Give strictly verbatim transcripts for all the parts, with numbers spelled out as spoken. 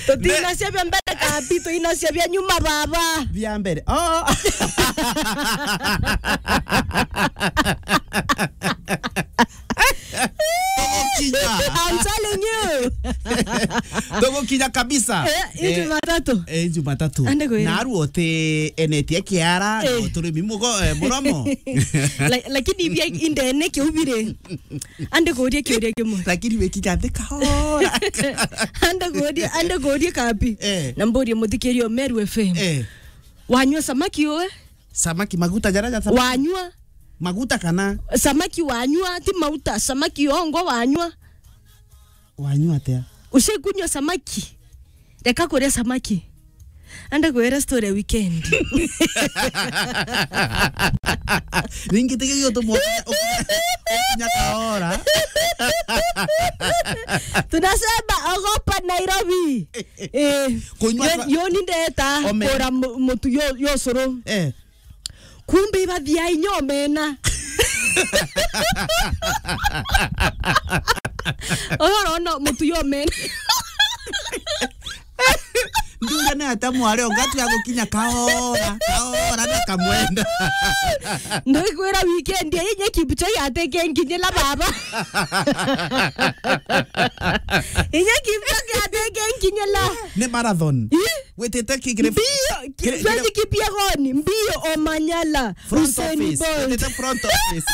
Tutinacia bia mbere kabi, tuinacia bia nyuma baba. Bia mbere. Oh. Tugukinya. I'm telling you. Tugukinya kabisa. Eh, hii Jumatatu. Eh, Jumatatu. Ande kwira. Na aru ote enetie kiara, eh, na uturimi mugo, eh, muromo. La-, lakini ibia indene kiubire. Ande kuria kiuria kimwe. Lakini wikinya nthi kahora. Ande kuria, ande kuria kabi. Eh. Na mburie muthikiria Meru F M. Eh. Wanyua samaki uwe? Samaki maguta jara ja samaki. Wanyua? Maguta kana? Samaki wanyua, ti mauta, samaki ongwa wanyua. Wanyua atia? Ushaikunywa samaki? Reka kuria samaki. Ande kwira story ya weekend. Ningi tege yo to mo. Nyakaora. Tunasema ogopa Nairobi. Eh. Kunywa yo, sa- yo ni ndeta ome- kura mu-, mutu yo, yo curu. Eh. Kumbe ibathia inya omena. Oyo urona mutu yo omena. Nduga ni ata mwari onga tu ya gukinya kahora, kahora na kamwenda. Ndikwira weekend ya inya Kipchoge ateke nkinyila baba. Inya Kipchoge ateke nkinyila. Ni marathon. Ih? Witite ki-, kiri-, mbio, ki-, kiri-, Faith Kipyegon, mbio Omanyala, front Usain office, Bolt. Witite front office.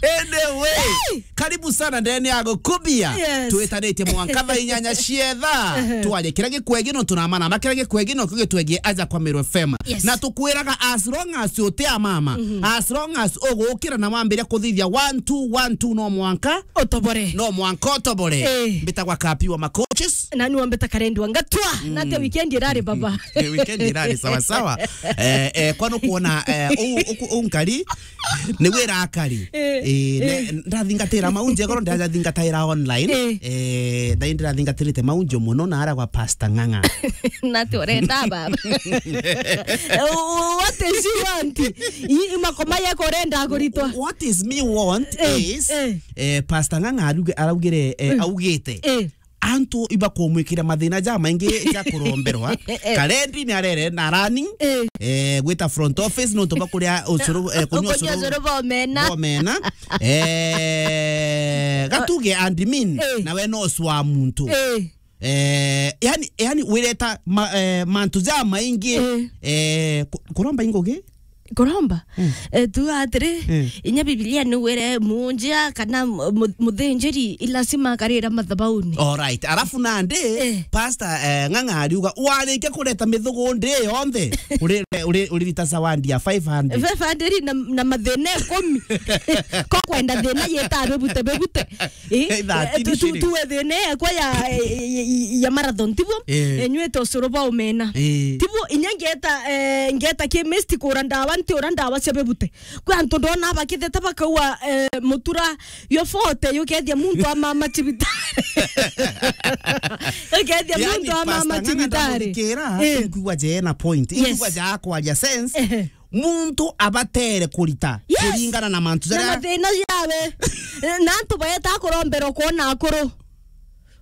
Anyway, hey! Karibu sana ndene ya Gukubia. Yes. Twitanitie mwanka thaa inyanya cietha. Ehe. Twaje kira gikwegi no tunamana, ma kira gikwegi no kigitwegie aja kwa Meru F M. Yes. Na tukwiraga as long as uti a mama, mhm, as long as ugukira na wambiria kuthithia one two one two no mwanka utobore. No mwanka utobore. Eh. Mbitagwa Kapi wa Macoaches. Na ni wambeta Karendi wa Ngatwa. Mm. Na ate weekend irari baba. Eh, weekend irari sawa sawa. Eh, eh, kwani ukuona, eh, u, u, u nkari? Ni wira akari. Eh, eh, ne, eh, ndathingatira maunji, korwo ndathingataira online. Eh. Eh, na indi ndathingatirite maunji muno na ara kwa Pastor Ng'ang'a. Na ati urenda baba. Eh, what is you want? I, i makoma yako urenda kuritwa. What is me want, eh, is, eh, eh, Pastor Ng'ang'a aruge-, araugire, eh, mm, augite, eh, antu ibakumwikira mathina jamaingi ja kuromberwa. Eh. Karendi ni arere na running, eh, eh, gwita front office nontu bwa kuria ucuru, eh, kunywa ucuru, ucuru bwa omena. Bwa omena. Eh, gatuge admin, eh, nawe no ucwa muntu. Eh. Eh, yani, yani wireta ma-, eh, mantu jamaingi, eh, eh, ku-, kuromba ingugi? Kuromba? Mm. Eh, tu atiri, mm, inya Biblia ni wire munjia kana mu-, mu-, muthinjiri i lazima akarira mathabauni. All right. Alafu nandi, eh, Pastor, eh, Ng'ang'a ariuga, warikia kureta mithugundi yonthe, uri-, uri-, uririta zawadi ya five hundred. Five hundred na, na mathina ikumi. Ko kwenda thina yita bebute, bebute. Eh, eh, thirteen tu, tu, shillings. Tuwe thina ekwa ya, ya, ya, ya marathon, tibo? Eh. Enyuite ucuru bwa omena. Eh. Tibo, inya ngeta, eh, ngeta chemist kura ndawa, nti ura ndawa cia bebute. Kwi antu ndona bakithete bakaua, eh, mutura yo forty yukethia muntu amama cibitari. Yukethia, yani, muntu amama Pastor Ng'ang'a cibitari. Ndamugikira, eh, inkwigua jena point. Yes. Inkwigua ja kwaria sense. Ehe. Muntu abatere kurita, yes, kuringana na mantu jaria na mathina jawe. Na antu baeta kuromberwa kwona akuru.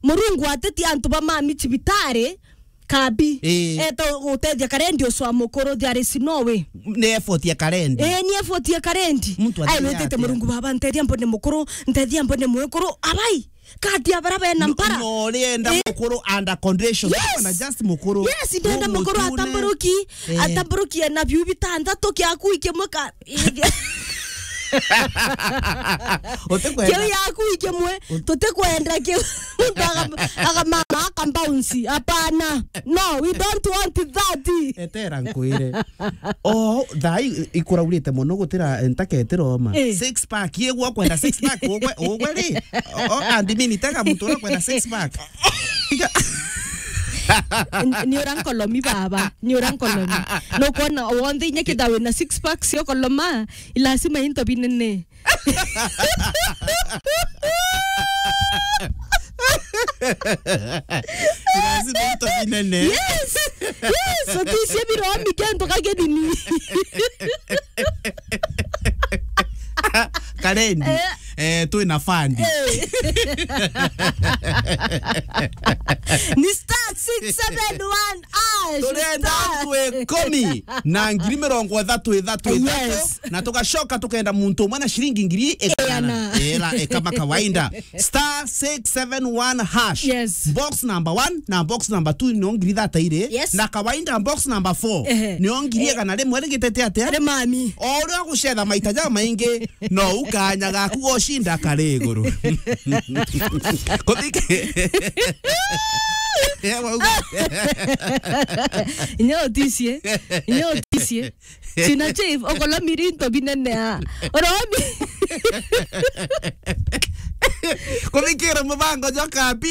Murungu ateti antu ba mami cibitari, kabi. Ii. Eta gutethia karendi ucwa mukuru, there is no way. Ni effort ya karendi. Ii, ni effort ya karendi. Muntu ai, athiaga wetete atia? Murungu baba, ntethia mbone mukuru, ntethia mbone mwekuru. Abai. Kati ya bara bena mpara. No, no, urienda, eh, mukuru under condition. Yes. Wana just mukuru. Yes, ndenda mukuru mutune. Atamburuki, eh, atamburuki ena biu bitantatu, kiaku ikimwe ka-, kiu yaku ikimwe, tutikwenda kiu. Muntu aga-, aga mama aka bounce. Hapana. No, we don't want that. Etera nkwire. O, thaa i-, ikuraurite muno gutira ntaketira oma. Eh. Six pack, yegwa kwenda six pack, ugwe, ugwe ri? O, o, and mimi tega muntu ura kwenda six pack. N-, ni ura nkolomi baba, ni ura nkolomi. No kwona wonthe inya kitha wina six pack cio koloma, i lazima into binene. Lazima into binene. Yes. Yes, otisia biromi kento kagenini. Karendi. Eh. Eh, twina fund. Eh. Ni star six seven one hash. Turenda star antu ikumi na ngiri mirongo ithatu ithatu ithatu. Yes. Na tugacoka tukenda muntu umwe na ciringi ngiri igana. Igana. Ira ikama kawaida. Star six seven one hash. Yes. Box number one na box number two no ngiri thatairi. Yes. Na kawaida box number four. Ehe. Nio ngiri igana rimwe rigitete atia? Ri mami. O uria ugucetha maita jamaingi, no ukanya gaku gocinda kari iguru. Kuthiki. Ewa ugu. Inyo uticie. Inyo uticie. China chief, okolwa mirinto binene a. Oromi. Kuthikira mubango jwa kapi.